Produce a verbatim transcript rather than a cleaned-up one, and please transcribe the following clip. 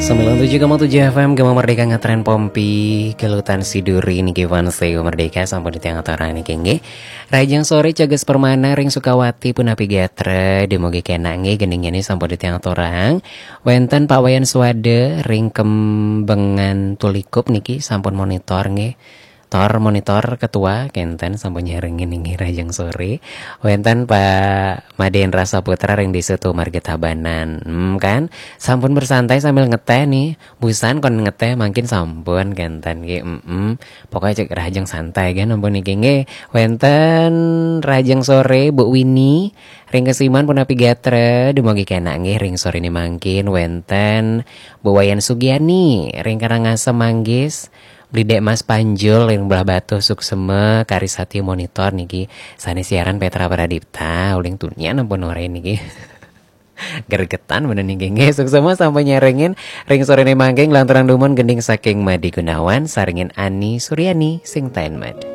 Sembilan tujuh koma tujuh F M Gema Merdeka ngetren pompi, kelutan siduri niki fans Gema Merdeka sampun ditiang aturang niki nggih. Rahajeng sore Cages Permana ring Sukawati punapi gatra, dumugi kenak nggih, gending ini sampun ditiang aturang. Wenten Pak Wayan Suwada ring Kembengan Tulikup niki sampun monitor nggih. Tor monitor ketua kenten sampun nyarengin inggih rahajeng sore. Wenten Pak Madendra Saputra ring Desa Tumarga Tabanan. Hmm, kan? Sampun bersantai sambil ngeteh nih. Busan kon ngeteh mangkin sampun kenten nggih. Mm-mm. Pokoknya cek rahajeng santai kan ampun niki nggih. Wenten rahajeng sore Bu Wini ring Kesiman punapi gatra, dumugi kenak nggih ring sore ini mangkin. Wenten Bu Wayan Sugiani ring Karangasem Manggis. Beli Dek Mas Panjul ring Belah Batuh, suksema, Karisati monitor niki. Sane siaran Petra Pradipta, uling tunian ampun ore niki. Gregetan bener niki nggih. Suksema sampun nyarengin ring sore ini mangkin, lanturang dumun gending saking Madi Gunawan sarengin Ani Suryani sing taen madu.